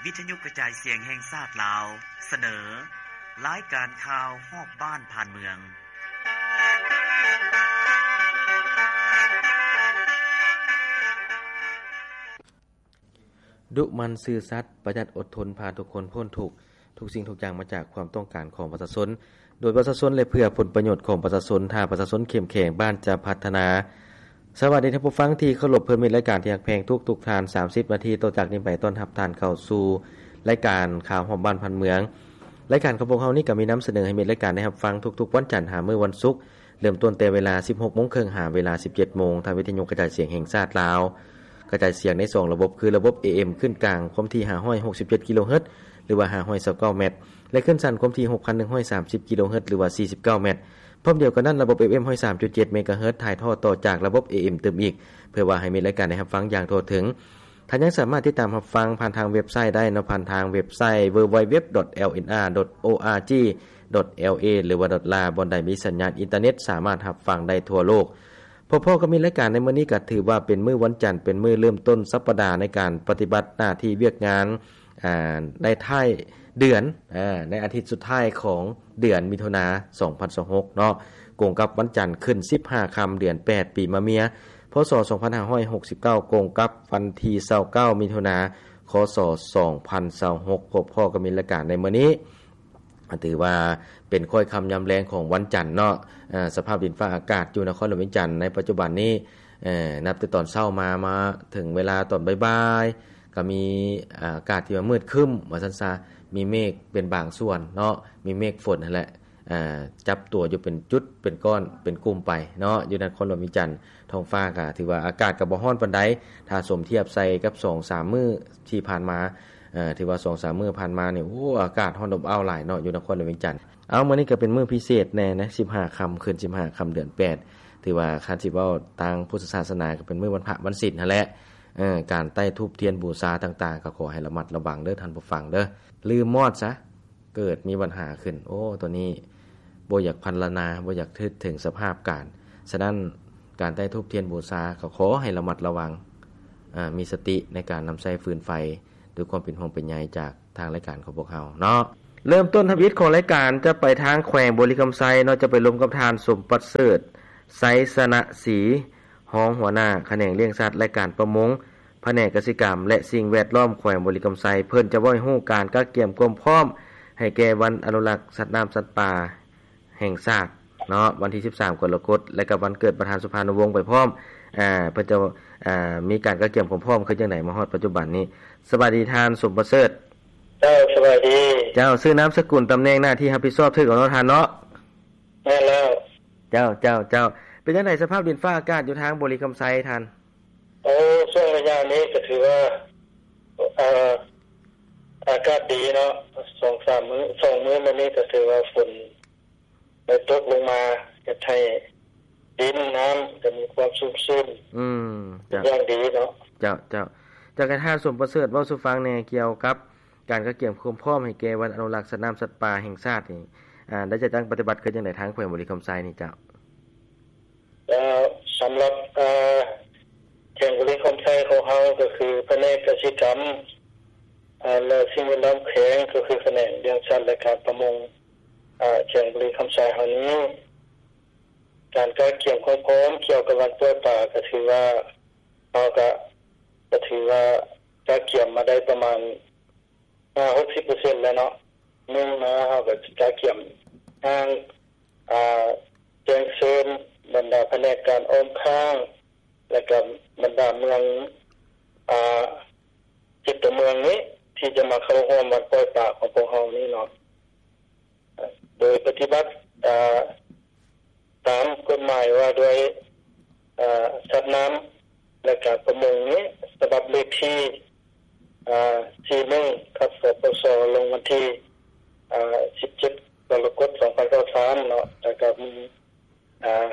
ວິທະຍຸກະຈາຍສຽງແຫ່ງຊາດລາວ ສະເໜີ ລາຍການຂ່າວຮອບບ້ານຜ່ານເມືອງ. ດຸໝັ່ນ, ຊື່ສັດ, ປະຢັດ, ອົດທົນ, ພາທຸກຄົນພົ້ນທຸກ. ທຸກສິ່ງທຸກຢ່າງມາຈາກຄວາມຕ້ອງການຂອງປະຊາຊົນ, ໂດຍປະຊາຊົນ ແລະ ເພື່ອຜົນປະໂຫຍດຂອງປະຊາຊົນ. ຖ້າປະຊາຊົນເຂັ້ມແຂງ, ບ້ານຈະພັດທະນາ. ສະຫວັດດີທ່ານຜູ້ຟັງທີ່ເຄົາລົບ, ເພື່ອມິດ, ລາຍການທີ່ຮັກແພງ. ທຸກໆທ່ານ ສາມສິບນາທີຕໍ່ຈາກນີ້ໄປ ຕ້ອນຮັບທ່ານເຂົ້າສູ່ລາຍການຂ່າວຮອບບ້ານຜ່ານເມືອງ. ລາຍການຂອງພວກເຮົານີ້ກໍມີນຳສະເໜີໃຫ້ມິດລາຍການໄດ້ຮັບຟັງທຸກໆວັນຈັນຫາມື້ວັນສຸກ, ເລີ່ມຕົ້ນແຕ່ເວລາສິບຫົກໂມງເຄິ່ງຫາເວລາສິບເຈັດໂມງ ທາງວິທະຍຸກະຈາຍສຽງແຫ່ງຊາດລາວ. ກະຈາຍສຽງໃນສອງລະບົບ ຄືລະບົບ ເອເອັມ ຄື້ນກາງຄວາມຖີ່ຫ້າຮ້ອຍຫົກສິບເຈັດກິໂລເຮີດ ຫຼືວ່າຫ້າຮ້ອຍຊາວເກົ້າແມັດ ແລະ ຄື້ນສັ້ນຄວາມຖີ່ຫົກພັນໜຶ່ງຮ້ອຍສາມສິບກິໂລເຮີດ ຫຼືວ່າສີ່ສິບເກົ້າແມັດ. ພ້ອມດຽວກັນນັ້ນ, ລະບົບ ເອເອັມ ຮ້ອຍສາມຈຸດເຈັດເມກາເຮີດ ຖ່າຍທອດຕໍ່ຈາກລະບົບ ເອເອັມ ຕື່ມອີກ ເພື່ອວ່າໃຫ້ມິດລາຍການໄດ້ຮັບຟັງຢ່າງທົ່ວເຖິງ. ທ່ານຍັງສາມາດຕິດຕາມຮັບຟັງຜ່ານທາງເວັບໄຊໄດ້ເນາະ, ຜ່ານທາງເວັບໄຊ www.lnr.org.la ຫຼືວ່າ .la ບ່ອນໃດມີສັນຍານອິນເຕີເນັດ ສາມາດຮັບຟັງໄດ້ທົ່ວໂລກ. ພໍ້ໆກັບມິດລາຍການໃນມື້ນີ້ ກໍຖືວ່າເປັນມື້ວັນຈັນ, ເປັນມື້ເລີ່ມຕົ້ນສັບປະດາໃນການປະຕິບັດໜ້າທີ່ວຽກງານ ອາ ໃນທ້າຍເດືອນ ອາ ໃນອາທິດສຸດທ້າຍຂອງເດືອນມິຖຸນາ ສອງພັນຊາວຫົກເນາະ, ກົງກັບວັນຈັນຂຶ້ນສິບຫ້າຄ່ຳເດືອນແປດ ປີມະເມຍ ພ.ສ. ສອງພັນຫ້າຮ້ອຍຫົກສິບເກົ້າ ກົງກັບວັນທີຊາວເກົ້າ ມິຖຸນາ ຄ.ສ. ສອງພັນຊາວຫົກ. ພົບພໍ້ກັບມິດລາຍການໃນມື້ນີ້ ຖືວ່າເປັນຄ້ອຍຄ່ຳຍາມແລງຂອງວັນຈັນເນາະ. ອາ ສະພາບດິນຟ້າອາກາດຢູ່ນະຄອນຫຼວງວຽງຈັນໃນປັດຈຸບັນນີ້ ເອີ ນັບແຕ່ຕອນເຊົ້າມາ ມາເຖິງເວລາຕອນບ່າຍໆ ກໍມີ ອາ ອາກາດທີ່ວ່າມືດຄຶ້ມວ່າຊັ້ນຊະ, ມີເມກເປັນບາງສ່ວນເນາະ, ມີເມກຝົນຫັ້ນແຫຼະ ອາ ຈັບຕົວຢູ່ເປັນຈຸດ ເປັນກ້ອນ ເປັນກຸ່ມໄປເນາະ. ຢູ່ນະຄອນຫຼວງວຽງຈັນ ທ້ອງຟ້າກໍຖືວ່າອາກາດກໍບໍ່ຮ້ອນປານໃດ ຖ້າສົມທຽບໃສ່ກັບສອງສາມມື້ທີ່ຜ່ານມາ. ເອີ ຖືວ່າສອງສາມມື້ຜ່ານມານີ້ ໂອ້ ອາກາດຮ້ອນອົບອ້າວຫຼາຍເນາະ ຢູ່ນະຄອນຫຼວງວຽງຈັນ. ເອົາ ມື້ນີ້ກໍເປັນມື້ພິເສດແດ່ນະ ສິບຫ້າຄ່ຳ ຂຶ້ນສິບຫ້າຄ່ຳເດືອນແປດ ຖືວ່າຄັນຊິເວົ້າທາງພຸດທະສາສະໜາ ກໍເປັນມື້ວັນພະວັນສິນຫັ້ນແຫຼະ. ເອີ ການໄຕ້ທູບທຽນບູຊາຕ່າງໆ ກໍຂໍໃຫ້ລະມັດລະວັງເດີທ່ານຜູ້ຟັງເດີ, ລືມມອດຊະ ເກີດມີບັນຫາຂຶ້ນ ໂອ້ ໂຕນີ້ບໍ່ຢາກພັນລະນາ ບໍ່ຢາກນຶກເຖິງສະພາບການ. ສະນັ້ນ ການໄຕ້ທູບທຽນບູຊາກໍຂໍໃຫ້ລະມັດລະວັງ ອາ ມີສະຕິໃນການນຳໃຊ້ຟືນໄຟ ດ້ວຍຄວາມເປັນຫ່ວງເປັນໃຍຈາກທາງລາຍການຂອງພວກເຮົາເນາະ. ເລີ່ມຕົ້ນທຳອິດຂອງລາຍການຈະໄປທາງແຂວງບໍລິຄຳໄຊເນາະ, ຈະໄປລົມກັບທ່ານ ສົມປະເສີດ ໄຊຊະນະສີ ຮອງຫົວໜ້າຂະແໜງລ້ຽງສັດ ແລະ ການປະມົງ ພະແນກກະສິກຳ ແລະ ສິ່ງແວດລ້ອມ ແຂວງບໍລິຄຳໄຊ. ເພິ່ນຈະເວົ້າໃຫ້ຮູ້ການກະກຽມຄວາມພ້ອມໃຫ້ແກ່ວັນອະນຸລັກສັດນ້ຳສັດປ່າແຫ່ງຊາດເນາະ, ວັນທີສິບສາມ ກໍລະກົດ ແລະ ກັບວັນເກີດປະທານສຸພານຸວົງໄປພ້ອມ. ອາ ເພິ່ນຈະ ອາ ມີການກະກຽມຄວາມພ້ອມຄືຈັ່ງໃດມາຮອດປັດຈຸບັນນີ້. ສະບາຍດີທ່ານ ສົມປະເສີດ. ເຈົ້າ ສະບາຍດີ. ເຈົ້າ ຊື່ນາມສະກຸນ ຕຳແໜ່ງໜ້າທີ່ຮັບຜິດຊອບຖືກແລ້ວເນາະທ່ານເນາະ? ແມ່ນແລ້ວ. ເຈົ້າ ເຈົ້າ ເຈົ້າ. ເປັນຈັ່ງໃດສະພາບດິນຟ້າອາກາດຢູ່ທາງບໍລິຄຳໄຊທ່ານ? ໂອ້ ຊ່ວງໄລຍະນີ້ກໍຖືວ່າ ເອີ ອາກາດດີເນາະ, ສອງສາມມື້ ສອງມື້ມານີ້ກໍຖືວ່າຝົນໄດ້ຕົກລົງມາ ເຮັດໃຫ້ດິນນ້ຳກໍມີຄວາມຊຸ່ມຊື່ນ ອືມ ເປັນຢ່າງດີເນາະ. ເຈົ້າ ເຈົ້າ ເຈົ້າ. ຢາກໃຫ້ທ່ານ ສົມປະເສີດ ເວົ້າສູ່ຟັງແດ່ກ່ຽວກັບການກະກຽມຄວາມພ້ອມໃຫ້ແກ່ວັນອະນຸລັກສັດນ້ຳສັດປ່າແຫ່ງຊາດນີ້ ອາ ໄດ້ຈັດຕັ້ງປະຕິບັດຄືຈັ່ງໃດທາງແຂວງບໍລິຄຳໄຊນີ້ເຈົ້າ? ເອີ ສຳລັບ ເອີ ແຂວງບໍລິຄຳໄຊຂອງເຮົາ ກໍຄືພະແນກກະສິກຳ ເອີ ແລະ ສິ່ງແວດລ້ອມແຂວງ ກໍຄືຂະແໜງລ້ຽງສັດ ແລະ ການປະມົງ ເອີ ແຂວງບໍລິຄຳໄຊເຮົານີ້ ການກະກຽມຄວາມພ້ອມກ່ຽວກັບວັນປ່ອຍປາ ກໍຖືວ່າ ເຮົາກະ ກະຖືວ່າກະກຽມມາໄດ້ປະມານ ຫ້າຫົກສິບເປີເຊັນແລ້ວເນາະ. ໜຶ່ງມາເຮົາກໍກະກຽມທາງ ອາ ແຈ້ງເຊີນບັນດາພະແນກການອ້ອມຂ້າງ ແລະ ກໍບັນດາເມືອງ ອາ ເຈັດຕົວເມືອງນີ້ ທີ່ຈະມາເຂົ້າຮ່ວມວັນປ່ອຍປາຂອງພວກເຮົານີ້ເນາະ. ໂດຍປະຕິບັດ ອາ ຕາມກົດໝາຍວ່າດ້ວຍ ອາ ສັດນ້ຳ ແລະ ການປະມົງນີ້ ສະບັບເລກທີ ອາ ສີ່ໜຶ່ງ ທັບ ສປສ ລົງວັນທີ ອາ ສິບເຈັດ ກໍລະກົດ ສອງພັນຊາວສາມເນາະ, ແລ້ວກໍມີ ອາ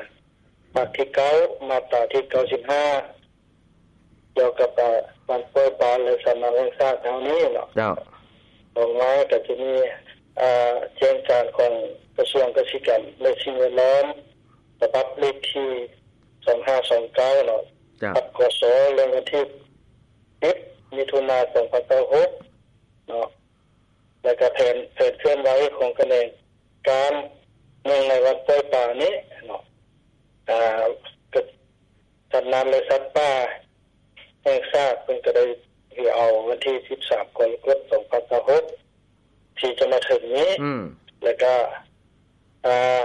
ພາກທີເກົ້າ ມາດຕາທີເກົ້າສິບຫ້າ ກ່ຽວກັບ ອາ ການປ່ອຍປາ ແລະ ສັດນ້ຳແຫ່ງຊາດເຮົານີ້ເນາະ. ເຈົ້າ. ຕໍ່ມາກໍຈະມີ ອາ ແຈ້ງການຂອງກະຊວງກະສິກຳ ແລະ ສິ່ງແວດລ້ອມ ສະບັບເລກທີສອງຫ້າສອງເກົ້າເນາະ. ເຈົ້າ. ທັບ ກສ ລົງວັນທີສິບ ມິຖຸນາ ສອງພັນຊາວຫົກ ຂອງຂະແໜງການເນື່ອງໃນວັນປ່ອຍປານີ້ເນາະ ອາ ກະ ສັດນ້ຳ ແລະ ສັດປ່າແຫ່ງຊາດ ເພິ່ນກະໄດ້ຖືເອົາວັນທີສິບສາມ ກໍລະກົດ ສອງພັນຊາວຫົກ ທີ່ຈະມາເຖິງນີ້ ອືມ ແລະກະ ອາ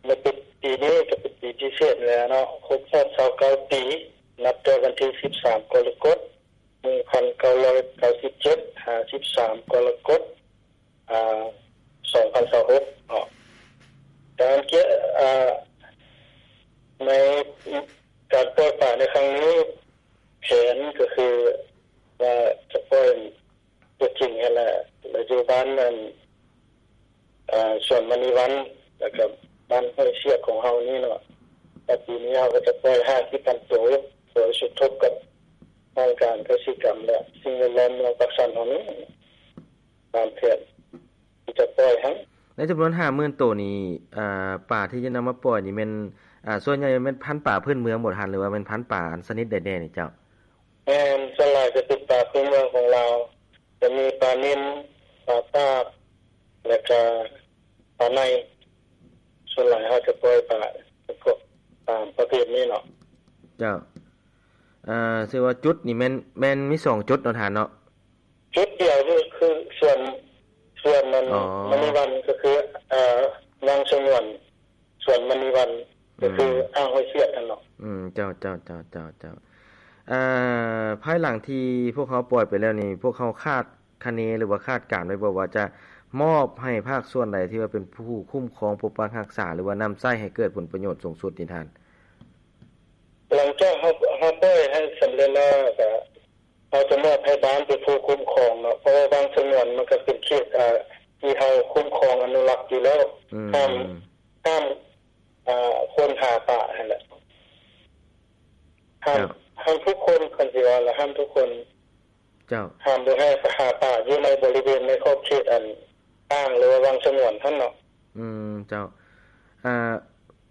ໃນປີ ປີນີ້ກະເປັນປີພິເສດແລ້ວເນາະ ຄົບຮອບຊາວເກົ້າປີ ນັບແຕ່ວັນທີສິບສາມ ກໍລະກົດ ໜຶ່ງພັນເກົ້າຮ້ອຍເກົ້າສິບເຈັດ ຫາ ສິບສາມ ກໍລະກົດ ອາ ສອງພັນຊາວຫົກເນາະ ການກຽ ອາ ໃນການປ່ອຍປາໃນຄັ້ງນີ້ ແຜນກະຄືວ່າຈະປ່ອຍຕົວຈິງຫັ້ນແຫຼະ ແລະ ຢູ່ບ້ານອັນ ອາ ສວນມະນີວັນ ແລະກະບ້ານຫ້ວຍສຽກຂອງເຮົານີ້ເນາະ ແລະ ປີນີ້ເຮົາກະຈະປ່ອຍຫ້າສິບພັນໂຕ ໂດຍສົມທົບກັບຫ້ອງການກະສິກຳ ແລະ ສິ່ງແວດລ້ອມເມືອງປາກຊັນເຮົານີ້ ຕາມແຜນທີ່ຈະປ່ອຍຫັ້ນ. ໃນຈຳນວນຫ້າໝື່ນໂຕນີ້ ອາ ປາທີ່ຈະນຳມາປ່ອຍນີ້ແມ່ນ ອາ ສ່ວນໃຫຍ່ແມ່ນພັນປາພື້ນເມືອງບໍ່ທ່ານ ຫຼືວ່າແມ່ນພັນປາຊະນິດໃດແດ່ນີ້ເຈົ້າ? ແມ່ນ ສ່ວນຫຼາຍຈະເປັນປາພື້ນເມືອງຂອງລາວ ຈະມີປານິນ ປາຕາບ ແລະກະປາໄນ ສ່ວນຫຼາຍເຮົາຈະປ່ອຍປາຈຳພວກຕາມປະເພດນີ້ເນາະ. ເຈົ້າ ເອີ ຊື່ວ່າຈຸດນີ້ແມ່ນ ແມ່ນມີສອງຈຸດເນາະທ່ານເນາະ? ຈຸດດຽວຄື ຄືສວນ ສວນນັ້ນ ອໍ ມະນີວັນ ກະຄື ເອີ ວັງສະຫງວນ ສວນມະນີວັນ ກະຄື ອືມ ອ່າງຫ້ວຍສຽກຫັ້ນເນາະ. ອືມ ເຈົ້າ ເຈົ້າ ເຈົ້າ ເຈົ້າ ເຈົ້າ ເອີ ພາຍຫຼັງທີ່ພວກເຮົາປ່ອຍໄປແລ້ວນີ້ ພວກເຮົາຄາດຄະເນ ຫຼືວ່າຄາດການໄວ້ບໍ່ວ່າຈະມອບໃຫ້ພາກສ່ວນໃດທີ່ວ່າເປັນຜູ້ຄຸ້ມຄອງປົກປັກຮັກສາ ຫຼືວ່ານຳໃຊ້ໃຫ້ເກີດຜົນປະໂຫຍດສູງສຸດນີ້ທ່ານ? ຫຼັງຈາກເຮົາ ເຮົາປ່ອຍໃຫ້ສຳເລັດແລ້ວ ກະເຮົາຈະມອບໃຫ້ບ້ານເປັນຜູ້ຄຸ້ມຄອງເນາະ ເພາະວ່າວັງສະຫງວນມັນກະເປັນເຂດ ອາ ທີ່ເຮົາຄຸ້ມຄອງອະນຸລັກຢູ່ແລ້ວ ອືມ ຫ້າມ ຫ້າມ ອາ ຄົນຫາປາຫັ້ນແຫຼະ ຫ້າມ ເຈົ້າ ຫ້າມທຸກຄົນ ຄັນຊິວ່າລະ ຫ້າມທຸກຄົນ ເຈົ້າ ຫ້າມບໍ່ໃຫ້ໄປຫາປາຢູ່ໃນບໍລິເວນໃນຂອບເຂດອັນອ່າງ ຫຼືວ່າວັງສະຫງວນຫັ້ນເນາະ. ອືມ ເຈົ້າ ອາ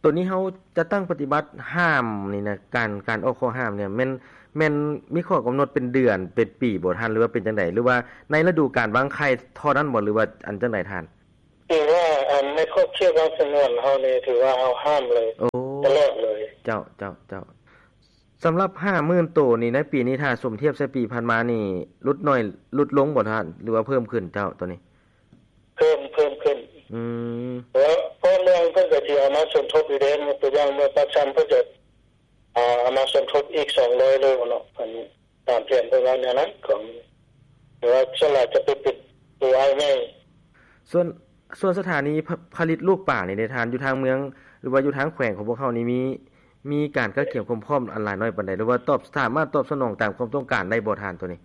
ໂຕນີ້ເຮົາຈັດຕັ້ງປະຕິບັດຫ້າມນີ້ນະ ການ ການອອກຂໍ້ຫ້າມນີ້ແມ່ນ ແມ່ນມີຂໍ້ກຳນົດເປັນເດືອນເປັນປີບໍ່ທ່ານ ຫຼືວ່າເປັນຈັ່ງໃດ ຫຼືວ່າໃນລະດູການວາງໄຂ່ເທົ່ານັ້ນບໍ່ ຫຼືວ່າອັນຈັ່ງໃດທ່ານ? ຖືວ່າ ອັນ ໃນຂອບເຂດວັງສະຫງວນເຮົານີ້ ຖືວ່າເຮົາຫ້າມເລີຍ ໂອ້ ຕະຫຼອດເລີຍ. ເຈົ້າ ເຈົ້າ ເຈົ້າ ສຳລັບຫ້າໝື່ນໂຕນີ້ ໃນປີນີ້ຖ້າສົມທຽບໃສ່ປີຜ່ານມານີ້ ຫຼຸດໜ້ອຍ ຫຼຸດລົງບໍ່ທ່ານ ຫຼືວ່າເພີ່ມຂຶ້ນເຈົ້າໂຕນີ້? ເພີ່ມ ເພີ່ມຂຶ້ນ. ອືມ ເພາະ ເພາະເມືອງເພິ່ນກະຊິເອົາມາສົມທົບຢູ່ເດ້ ຍົກຕົວຢ່າງເມືອງປາກຊັນ ເພິ່ນກະ ອາ ເອົາມາສົມທົບອີກສອງຮ້ອຍໂລເນາະ ອັນ ຕາມແຜນເພິ່ນວ່າແນວນັ້ນ ກະ ແຕ່ວ່າສ່ວນຫຼາຍຈະເປັນ ເປັນໂຕອ້າຍໃຫຍ່. ສ່ວນ ສ່ວນສະຖານີຜະ ຜະລິດລູກປານີ້ເດທ່ານ ຢູ່ທາງເມືອງ ຫຼືວ່າຢູ່ທາງແຂວງຂອງພວກເຮົານີ້ ມີ ມີການກະກຽມຄວາມພ້ອມອັນຫຼາຍໜ້ອຍປານໃດ ຫຼືວ່າຕອບ ສາມາດຕອບສະໜອງຕາມຄວາມຕ້ອງການໄດ້ບໍ່ທ່ານໂຕນີ້?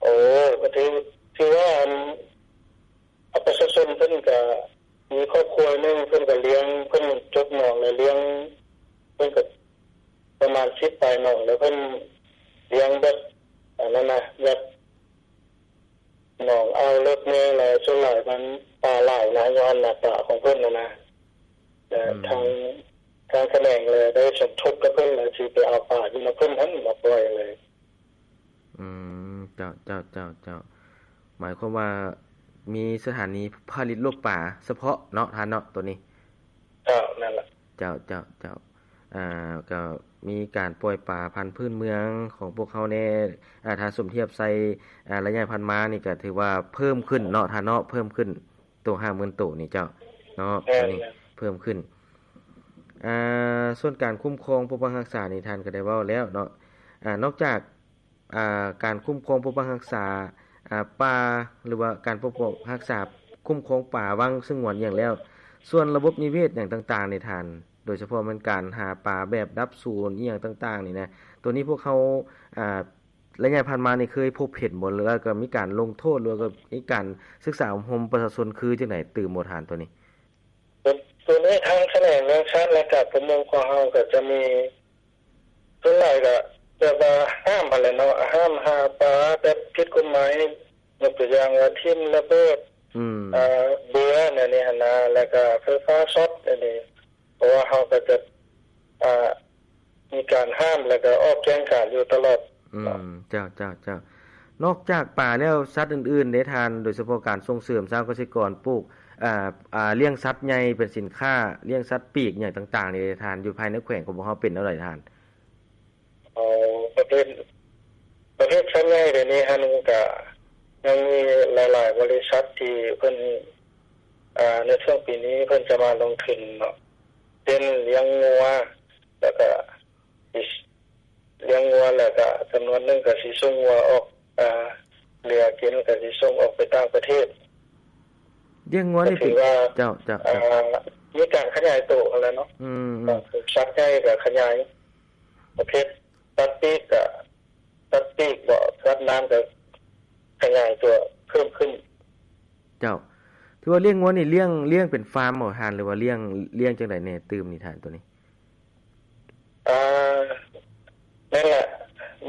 ໂອ້ ກະຖື ຖືວ່າອັນ ອາ ປະຊາຊົນເພິ່ນກະມີຄອບຄົວໜຶ່ງ ເພິ່ນກະລ້ຽງ ເພິ່ນຈົກໜອງແລ້ວລ້ຽງ ເພິ່ນກະປະມານສິບປາຍໜອງ ແລ້ວເພິ່ນລ້ຽງແບບ ອັນນັ້ນນະ ແບບໜອງອ່າວເລິກແນ່ ແລ້ວສ່ວນຫຼາຍມັນປາຫຼາຍນະ ຍ້ອນນາປາຂອງເພິ່ນຫັ້ນນະ ແລ້ວ ອືມ ທາງ ທາງຂະແໜງແລະໄດ້ສົມທົບກັບເພິ່ນ ແລ້ວຊິໄປເອົາປາຢູ່ນຳເພິ່ນຫັ້ນມາປ່ອຍເລີຍ. ອືມ ເຈົ້າ ເຈົ້າ ເຈົ້າ ເຈົ້າ ໝາຍຄວາມວ່າມີສະຖານີຜະລິດລູກປາສະເພາະເນາະທ່ານເນາະ ໂຕນີ້. ເຈົ້າ ນັ້ນລະ. ເຈົ້າ ເຈົ້າ ເຈົ້າ ອາ ກະມີການປ່ອຍປາພັນພື້ນເມືອງຂອງພວກເຮົາແດ່ ອາ ຖ້າສົມທຽບໃສ່ ອາ ໄລຍະຜ່ານມານີ້ກະຖືວ່າເພີ່ມຂຶ້ນເນາະທ່ານເນາະ ເພີ່ມຂຶ້ນ ໂຕຫ້າໝື່ນໂຕນີ້ເຈົ້າເນາະ ແມ່ນ ໂຕນີ້ ແມ່ນ ເພີ່ມຂຶ້ນ. ອາ ສ່ວນການຄຸ້ມຄອງປົກປັກຮັກສານີ້ທ່ານກະໄດ້ເວົ້າແລ້ວເນາະ ອາ ນອກຈາກ ອາ ການຄຸ້ມຄອງປົກປັກຮັກສາ ອາ ປ່າ ຫຼືວ່າການປົກປັກຮັກສາຄຸ້ມຄອງປ່າວັງສະຫງວນອີ່ຫຍັງແລ້ວ ສ່ວນລະບົບນິເວດຫຍັງຕ່າງໆນີ້ທ່ານ ໂດຍສະເພາະແມ່ນການຫາປາແບບດັບສູນອີ່ຫຍັງຕ່າງໆນີ້ນະ ໂຕນີ້ພວກເຮົາ ອາ ໄລຍະຜ່ານມານີ້ເຄີຍພົບເຫັນບໍ່ ຫຼືວ່າກະມີການລົງໂທດ ຫຼືວ່າກະມີການສຶກສາອົບຮົມປະຊາຊົນຄືຈັ່ງໃດຕື່ມບໍ່ທ່ານໂຕນີ້? ໂຕ ໂຕນີ້ທາງຂະແໜງແຮງງານແລະການປະມົງຂອງເຮົາກະຈະມີ ສ່ວນຫຼາຍກະແບບວ່າຫ້າມຫັ້ນແຫຼະເນາະ ຫ້າມຫາປາແບບຜິດກົດໝາຍ ຍົກຕົວຢ່າງວ່າຖິ້ມລະເບີດ ອືມ ອາ ເບືອແນວນີ້ຫັ້ນນະ ແລ້ວກະໄຟຟ້າຊັອດແນວນີ້ ເພາະວ່າເຮົາກະຈະ ອາ ມີການຫ້າມ ແລ້ວກະອອກແຈ້ງການຢູ່ຕະຫຼອດ. ອືມ ເຈົ້າ ເຈົ້າ ເຈົ້າ. ນອກຈາກປາແລ້ວ ສັດອື່ນໆເດທ່ານ ໂດຍສະເພາະການສົ່ງເສີມຊາວກະສິກອນປູກ ອາ ອາ ລ້ຽງສັດໃຫຍ່ເປັນສິນຄ້າ ລ້ຽງສັດປີກຫຍັງຕ່າງໆນີ້ເດທ່ານ ຢູ່ພາຍໃນແຂວງຂອງພວກເຮົາເປັນແນວໃດທ່ານ? ເອົາ ປະເພດ ປະເພດສັດໃຫຍ່ດຽວນີ້ຫັ້ນກະຍັງມີຫຼາຍໆບໍລິສັດທີ່ເພິ່ນ ອາ ໃນຊ່ວງປີນີ້ເພິ່ນຈະມາລົງທຶນເນາະ ເຊັ່ນລ້ຽງງົວ ແລ້ວກະ ລ້ຽງງົວ ແລ້ວກະຈຳນວນໜຶ່ງກະຊິສົ່ງງົວອອກ ອາ ເຫຼືອກິນກະຊິສົ່ງອອກໄປຕ່າງປະເທດ. ລ້ຽງງົວນີ້ເປັນ ກະຖືວ່າ ເຈົ້າ ເຈົ້າ ອາ ເຈົ້າ ມີການຂະຫຍາຍໂຕຫັ້ນແຫຼະເນາະ. ອືມ ອືມ ສັດໃຫຍ່ກະຂະຫຍາຍ ປະເພດສັດປີກກະ ສັດປີກບໍ ສັດນ້ຳກະຂະຫຍາຍຕົວເພີ່ມຂຶ້ນ. ເຈົ້າ ຖືວ່າລ້ຽງງົວນີ້ລ້ຽງ ລ້ຽງເປັນຟາມບໍທ່ານ ຫຼືວ່າລ້ຽງ ລ້ຽງຈັ່ງໃດແດ່ຕື່ມນີ້ທ່ານ ໂຕນີ້? ອ່າ ແມ່ນແຫຼະ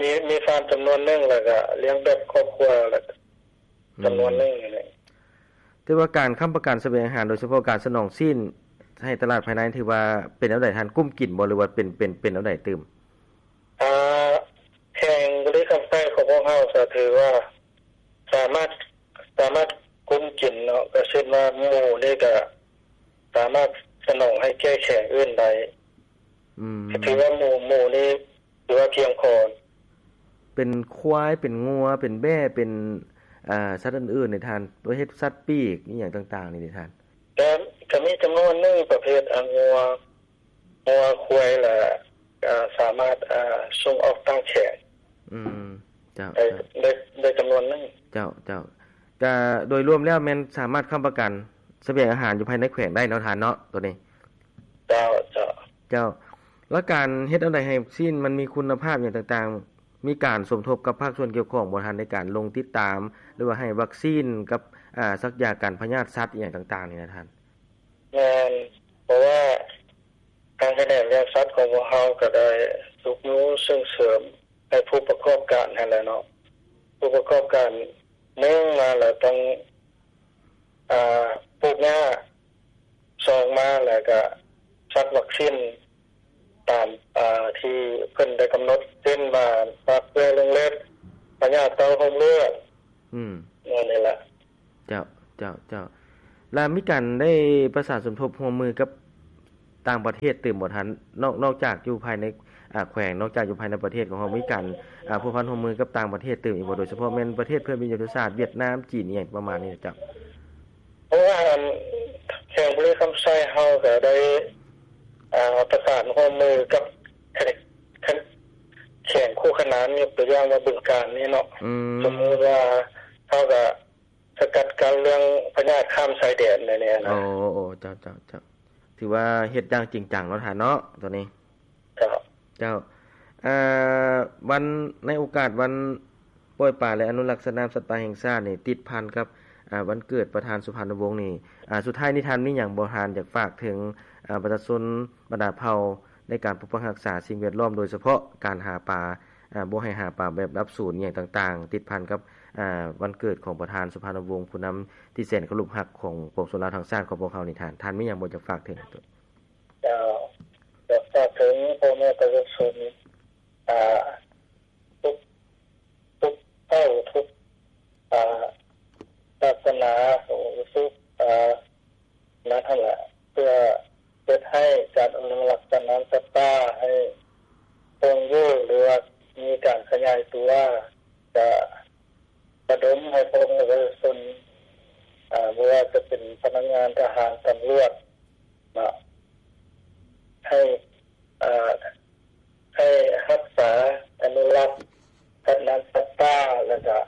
ມີ ມີຟາມຈຳນວນໜຶ່ງ ແລ້ວກະລ້ຽງແບບຄອບຄົວ ແລ້ວກະ ອືມ ຈຳນວນໜຶ່ງນີ້ແຫຼະ. ແຕ່ວ່າການຄ້ຳປະກັນສະບຽງອາຫານ ໂດຍສະເພາະການສະໜອງຊີ້ນໃຫ້ຕະຫຼາດພາຍໃນ ຖືວ່າເປັນແນວໃດທ່ານ ກຸ້ມກິນບໍ່ ຫຼືວ່າເປັນ ເປັນ ເປັນແນວໃດຕື່ມ? ອ່າ ແຂວງບໍລິຄຳໄຊຂອງພວກເຮົາກະຖືວ່າສາມາດ ສາມາດກຸ້ມກິນເນາະ ກະເຊັ່ນວ່າໝູນີ້ກະສາມາດສະໜອງໃຫ້ແກ່ແຂວງອື່ນໄດ້. ອືມ ກະຖືວ່າໝູ ໝູນີ້ຖືວ່າພຽງພໍ. ເປັນຄວາຍ ເປັນງົວ ເປັນແບ້ ເປັນ ອາ ສັດອື່ນໆນີ້ທ່ານ ປະເພດສັດປີກອີ່ຫຍັງຕ່າງໆນີ້ເດທ່ານ? ກະ ກະມີຈຳນວນໜຶ່ງປະເພດ ອາ ງົວ ງົວ ຄວາຍ ແລະ ອາ ສາມາດ ອາ ສົ່ງອອກຕ່າງແຂວງ ອືມ ເຈົ້າ ໄດ້ ເຈົ້າ ໄດ້ ໄດ້ຈຳນວນໜຶ່ງ. ເຈົ້າ ເຈົ້າ ກະໂດຍລວມແລ້ວແມ່ນສາມາດຄ້ຳປະກັນສະບຽງອາຫານຢູ່ພາຍໃນແຂວງໄດ້ເນາະທ່ານເນາະ ໂຕນີ້? ເຈົ້າ ເຈົ້າ ເຈົ້າ ແລ້ວການເຮັດແນວໃດໃຫ້ຊີ້ນມັນມີຄຸນນະພາບຫຍັງຕ່າງໆ ມີການສົມທົບກັບພາກສ່ວນກ່ຽວຂ້ອງບໍ່ທ່ານ ໃນການລົງຕິດຕາມ ຫຼືວ່າໃຫ້ວັກຊີນກັບ ອາ ສັກຢາກັນພະຍາດສັດອີ່ຫຍັງຕ່າງໆນີ້ນະທ່ານ? ແມ່ນ ເພາະວ່າທາງຂະແໜງລ້ຽງສັດຂອງພວກເຮົາກະໄດ້ຊຸກຍູ້ສົ່ງເສີມໃຫ້ຜູ້ປະກອບການຫັ້ນແຫຼະເນາະ ຜູ້ປະກອບການ ໜຶ່ງມາແລ້ວຕ້ອງ ອາ ປູກຫຍ້າ ສອງມາແລ້ວກະສັກວັກຊີນຕາມ ອາ ທີ່ເພິ່ນໄດ້ກຳນົດ ເຊັ່ນວ່າ ປາກເປື່ອຍລົງເລັບ ພະຍາດເຕົ້າໂຮມເລືອດ ອືມ ແນວນີ້ແຫຼະ. ເຈົ້າ ເຈົ້າ ເຈົ້າ ແລ້ວມີການໄດ້ປະສານສົມທົບຮ່ວມມືກັບຕ່າງປະເທດຕື່ມບໍ່ທ່ານ? ນອກ ນອກຈາກຢູ່ພາຍໃນ ອາ ແຂວງ ນອກຈາກຢູ່ພາຍໃນປະເທດຂອງເຮົາ ມີການ ອາ ພົວພັນຮ່ວມມືກັບຕ່າງປະເທດຕື່ມອີກບໍ່ ໂດຍສະເພາະແມ່ນປະເທດເພື່ອນມິດຍາທິສາດ ຫວຽດນາມ ຈີນ ອີ່ຫຍັງປະມານນີ້ນະເຈົ້າ? ເພາະວ່າ ອັນ ແຂວງບໍລິຄຳໄຊເຮົາກະໄດ້ ອາ ປະສານຮ່ວມມືກັບ ແຂວງ ແຂວງຄູ່ຂະໜານ ຍົກຕົວຢ່າງວ່າບຶງການນີ້ເນາະ ອືມ ສົມມຸດວ່າເຮົາກະ ສະກັດກັ້ນເລື່ອງພະຍາດຂ້າມຊາຍແດນແນວນີ້ນະ. ໂອ້ ໂອ້ ເຈົ້າ ເຈົ້າ ເຈົ້າ ຖືວ່າເຮັດຢ່າງຈິງຈັງເນາະທ່ານເນາະ ໂຕນີ້. ເຈົ້າ ເຈົ້າ ເອີ ວັນ ໃນໂອກາດວັນປ່ອຍປາ ແລະ ອະນຸລັກສັດນ້ຳສັດປ່າແຫ່ງຊາດນີ້ ຕິດພັນກັບ ອາ ວັນເກີດປະທານສຸພານຸວົງນີ້ ອາ ສຸດທ້າຍນີ້ທ່ານມີຫຍັງບໍ່ ທ່ານຢາກຝາກເຖິງ ອາ ປະຊາຊົນບັນດາເຜົ່າ ໃນການປົກປັກຮັກສາສິ່ງແວດລ້ອມ ໂດຍສະເພາະການຫາປາ ອາ ບໍ່ໃຫ້ຫາປາແບບດັບສູນອີ່ຫຍັງຕ່າງໆ ຕິດພັນກັບ ອາ ວັນເກີດຂອງປະທານສຸພານຸວົງ ຜູ້ນຳທີ່ແສນເຄົາລົບຮັກຂອງປວງຊົນລາວທັງຊາດຂອງພວກເຮົານີ້ ທ່ານ ທ່ານມີຫຍັງບໍ່ຈະຝາກເຖິງ? ເຈົ້າ ຢາກຝາກເຖິງພໍ່ແມ່ປະຊາຊົນ ອາ ທຸກ ທຸກເຜົ່າ ທຸກ ອາ ສາສະໜາ ທຸກ ອາ ນັ້ນຫັ້ນລະ ເພື່ອເຮັດໃຫ້ການອະນຸລັກສັດນ້ຳສັດປ່າໃຫ້ຄົງຢູ່ ຫຼືວ່າມີການຂະຫຍາຍຕົວ ກະລະດົມໃຫ້ພໍ່ແມ່ປະຊາຊົນ ອາ ບໍ່ວ່າຈະເປັນພະນັກງານທະຫານ ຕຳຫຼວດ ເນາະ ໃຫ້ ເອີ ໃຫ້ຮັກສາອະນຸລັກສັດນ້ຳສັດປ່າ ແລ້ວກະ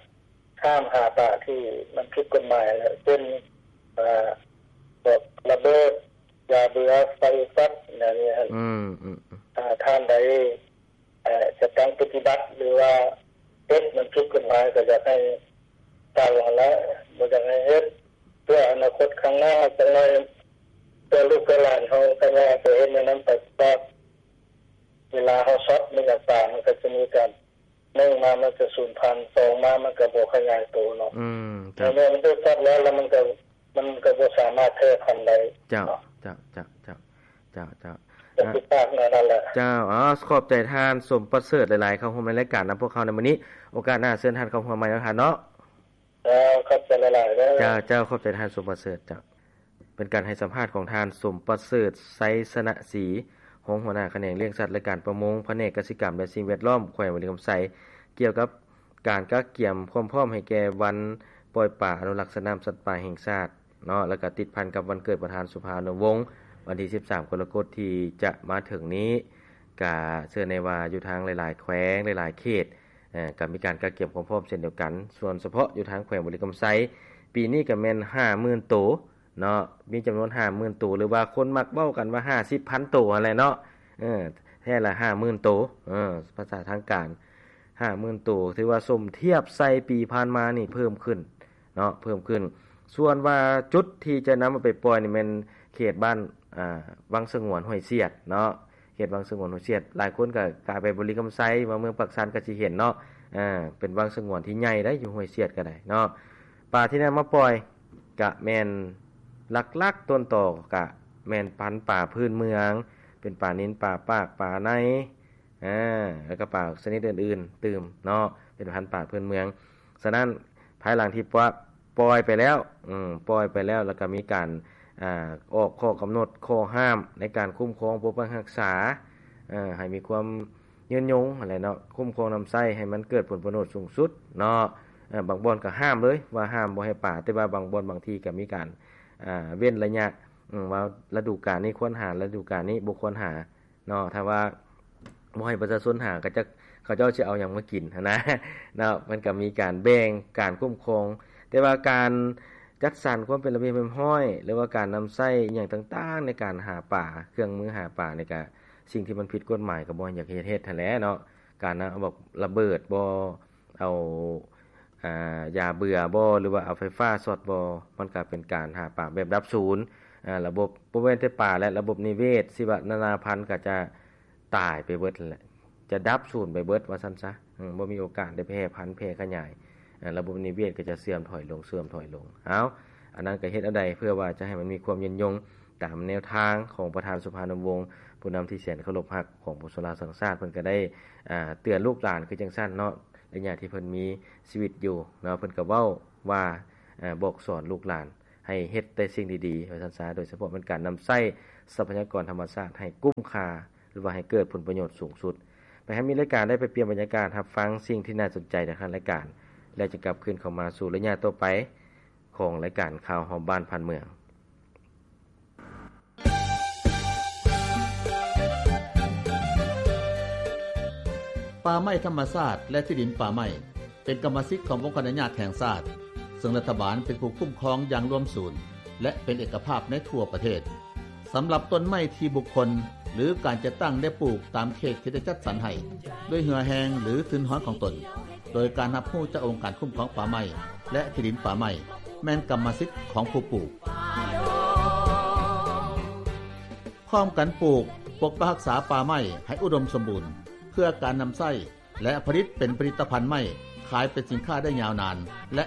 ຫ້າມຫາປາທີ່ມັນຜິດກົດໝາຍ ເຊັ່ນ ເອີ ພວກລະເບີດ ຢາເບື່ອ ໄຟຊັດ ແນວນີ້ຫັ້ນ ອືມ ອືມ ອືມ ຖ້າທ່ານໃດ ເອີ ຈະຕັ້ງປະຕິບັດ ຫຼືວ່າເຮັດມັນຜິດກົດໝາຍ ກະຢາກໃຫ້ເຊົາຫັ້ນລະ ບໍ່ຢາກໃຫ້ເຮັດ ເພື່ອອະນາຄົດຂ້າງໜ້າ ຈັກໜ້ອຍ ເພື່ອລູກເພື່ອຫຼານເຮົາ ຄັນວ່າໄປເຮັດແນວນັ້ນໄປ ເພາະວ່າເວລາເຮົາຊັອດມັນກະຕາຍ ມັນກະຈະມີການ ໜຶ່ງມາມັນກະສູນພັນ ສອງມາມັນກະບໍ່ຂະຫຍາຍໂຕເນາະ ອືມ ເຈົ້າ ເມື່ອມັນຖືກຊັອດແລ້ວ ແລ້ວມັນກະ ມັນກະບໍ່ສາມາດແຜ່ພັນໄດ້ ເຈົ້າ ເຈົ້າ ເຈົ້າ ເຈົ້າ ເຈົ້າ ເຈົ້າ. ເຈົ້າ ຂໍບໃຈທ່ານ ສົມປະເສີດ ຫຼາຍໆ ເຂົ້າຮ່ວມໃນລາຍການນຳພວກເຮົາໃນມື້ນີ້. ໂອກາດໜ້າເຊີນທ່ານເຂົ້າຮ່ວມໃໝ່ເນາະທ່ານເນາະ. ເຈົ້າ ຂອບໃຈຫຼາຍໆເດີ. ເຈົ້າ ເຈົ້າ ຂອບໃຈທ່ານ ສົມປະເສີດ. ເຈົ້າ ເປັນການໃຫ້ສຳພາດຂອງທ່ານ ສົມປະເສີດ ໄຊຊະນະສີ ຮອງຫົວໜ້າຂະແໜງລ້ຽງສັດ ແລະ ການປະມົງ ພະແນກກະສິກຳ ແລະ ສິ່ງແວດລ້ອມ ແຂວງບໍລິຄຳໄຊ ກ່ຽວກັບການກະກຽມຄວາມພ້ອມໃຫ້ແກ່ວັນປ່ອຍປາ ອະນຸລັກສັດນ້ຳສັດປ່າແຫ່ງຊາດເນາະ ແລ້ວກະຕິດພັນກັບວັນເກີດປະທານສຸພານຸວົງ ວັນທີສິບສາມ ກໍລະກົດທີ່ຈະມາເຖິງນີ້. ກະເຊື່ອແນ່ວ່າຢູ່ທາງຫຼາຍໆແຂວງ ຫຼາຍໆເຂດ ເອີ ກໍມີການກະກຽມຄວາມພ້ອມເຊັ່ນດຽວກັນ. ສ່ວນສະເພາະຢູ່ທາງແຂວງບໍລິຄຳໄຊ ປີນີ້ກໍແມ່ນຫ້າໝື່ນໂຕເນາະ, ມີຈຳນວນຫ້າໝື່ນໂຕ ຫຼືວ່າຄົນມັກເວົ້າກັນວ່າຫ້າສິບພັນໂຕຫັ້ນແຫຼະເນາະ. ເອີ ແທ້ລະຫ້າໝື່ນໂຕ ເອີ ພາສາທາງການ ຫ້າໝື່ນໂຕ ຖືວ່າສົມທຽບໃສ່ປີຜ່ານມານີ້ເພີ່ມຂຶ້ນເນາະ ເພີ່ມຂຶ້ນ. ສ່ວນວ່າຈຸດທີ່ຈະນຳເອົາໄປປ່ອຍນີ້ແມ່ນເຂດບ້ານ ອາ ວັງສະຫງວນຫ້ວຍຊຽດເນາະ. ເຂດວັງສະຫງວນຫ້ວຍຊຽດ ຫຼາຍຄົນກໍກາຍໄປບໍລິຄຳໄຊ ມາເມືອງປາກຊັນກໍຊິເຫັນເນາະ. ເປັນວັງສະຫງວນທີ່ໃຫຍ່ໄດ໋ ຢູ່ຫ້ວຍຊຽດກໍໄດ້ເນາະ. ປາທີ່ນຳມາປ່ອຍກະແມ່ນຫຼັກໆຕົ້ນຕໍກະແມ່ນພັນປາພື້ນເມືອງ ເປັນປານິນ ປາປາກ ປາໄນ ອາ ແລ້ວກໍປາຊະນິດອື່ນໆຕື່ມເນາະ ເປັນພັນປາພື້ນເມືອງ. ສະນັ້ນ ພາຍຫຼັງທີ່ປະ ປ່ອຍໄປແລ້ວ ອືມ ປ່ອຍໄປແລ້ວ ແລ້ວກໍມີການ ອາ ອອກຂໍ້ກຳນົດ ຂໍ້ຫ້າມໃນການຄຸ້ມຄອງປົກປັກຮັກສາ ເອີ ໃຫ້ມີຄວາມຍືນຍົງຫັ້ນແຫຼະເນາະ, ຄຸ້ມຄອງນຳໃຊ້ໃຫ້ມັນເກີດຜົນປະໂຫຍດສູງສຸດເນາະ. ເອີ ບາງບ່ອນກໍຫ້າມເລີຍ ວ່າຫ້າມບໍ່ໃຫ້ປາ, ແຕ່ວ່າບາງບ່ອນບາງທີ່ກໍມີການ ອາ ເວັ້ນໄລຍະ ອາ ວ່າລະດູການນີ້ຄວນຫາ, ລະດູການນີ້ບໍ່ຄວນຫາ ເນາະ. ຖ້າວ່າບໍ່ໃຫ້ປະຊາຊົນຫາ ເຂົາເຈົ້າ ເຂົາເຈົ້າຊິເອົາຫຍັງມາກິນຫັ້ນນະເນາະ. ມັນກໍມີການແບ່ງການຄຸ້ມຄອງ, ແຕ່ວ່າການຈັດສັນຄວາມເປັນລະບຽບຮຽບຮ້ອຍ ຫຼືວ່າການນຳໃຊ້ອີ່ຫຍັງຕ່າງໆ ໃນການຫາປາ, ເຄື່ອງມືຫາປານີ້ກະ ສິ່ງທີ່ມັນຜິດກົດໝາຍກໍບໍ່ຢາກເຮັດ ເຮັດຫັ້ນແຫຼະເນາະ. ການນຳເອົາບັກລະເບີດບໍ ເອົາ ອາ ຢາເບື່ອບໍ ຫຼືວ່າເອົາໄຟຟ້າຊັອດບໍ ມັນກະເປັນການຫາປາແບບດັບສູນ. ອາ ລະບົບ ບໍ່ແມ່ນແຕ່ປາແຫຼະ ລະບົບນິເວດ ຊີວະນານາພັນກໍຈະຕາຍໄປເບິດຫັ້ນແຫຼະ ຈະດັບສູນໄປເບິດວ່າຊັ້ນຊະ. ອືມ ບໍ່ມີໂອກາດໄດ້ແຜ່ພັນແຜ່ຂະຫຍາຍ, ອາ ລະບົບນິເວດກໍຈະເສື່ອມຖອຍລົງ ເສື່ອມຖອຍລົງ. ເອົາ ອັນນັ້ນກໍເຮັດແນວໃດເພື່ອວ່າຈະໃຫ້ມັນມີຄວາມຍືນຍົງ ຕາມແນວທາງຂອງປະທານສຸພານຸວົງ ຜູ້ນຳທີ່ແສນເຄົາລົບຮັກຂອງປວງຊົນລາວທັງຊາດ. ເພິ່ນກໍໄດ້ ອາ ເຕືອນລູກຫຼານຄືຈັ່ງຊັ້ນເນາະ, ໄລຍະທີ່ເພິ່ນມີຊີວິດຢູ່ເນາະ ເພິ່ນກໍເວົ້າວ່າ ອາ ບອກສອນລູກຫຼານໃຫ້ເຮັດແຕ່ສິ່ງດີໆ ວ່າຊັ້ນຊະ, ໂດຍສະເພາະແມ່ນການນຳໃຊ້ຊັບພະຍາກອນທຳມະຊາດໃຫ້ກຸ້ມຄ່າ ຫຼືວ່າໃຫ້ເກີດຜົນປະໂຫຍດສູງສຸດ. ໄປໃຫ້ມີລາຍການໄດ້ໄປປ່ຽນບັນຍາກາດ ຮັບຟັງສິ່ງທີ່ໜ້າສົນໃຈໃນທາງລາຍການ ແລ້ວຈະກັບຄືນເຂົ້າມາສູ່ໄລຍະຕໍ່ໄປຂອງລາຍການຂ່າວຮອບບ້ານຜ່ານເມືອງ. ປ່າໄມ້ທຳມະຊາດ ແລະ ທີ່ດິນປ່າໄມ້ ເປັນກຳມະສິດຂອງອົງຄະອະນຸຍາດແຫ່ງຊາດ, ເຊິ່ງລັດຖະບານເປັນຜູ້ຄຸ້ມຄອງຢ່າງລວມສູນ ແລະ ເປັນເອກະພາບໃນທົ່ວປະເທດ. ສຳລັບຕົ້ນໄມ້ທີ່ບຸກຄົນ ຫຼື ການຈັດຕັ້ງໄດ້ປູກຕາມເຂດທີ່ໄດ້ຈັດສັນໃຫ້ ດ້ວຍເຫື່ອແຮງ ຫຼື ທຶນຮອນຂອງຕົນ, ໂດຍການຮັບຮູ້ຈາກອົງການຄຸ້ມຄອງປ່າໄມ້ ແລະ ທີ່ດິນປ່າໄມ້ ແມ່ນກຳມະສິດຂອງຜູ້ປູກ. ພ້ອມກັນປູກ, ປົກປັກຮັກສາປ່າໄມ້ໃຫ້ອຸດົມສົມບູນ ເພື່ອການນຳໃຊ້ ແລະ ຜະລິດເປັນຜະລິດຕະພັນໄມ້ ຂາຍເປັນສິນຄ້າໄດ້ຍາວນານ ແລະ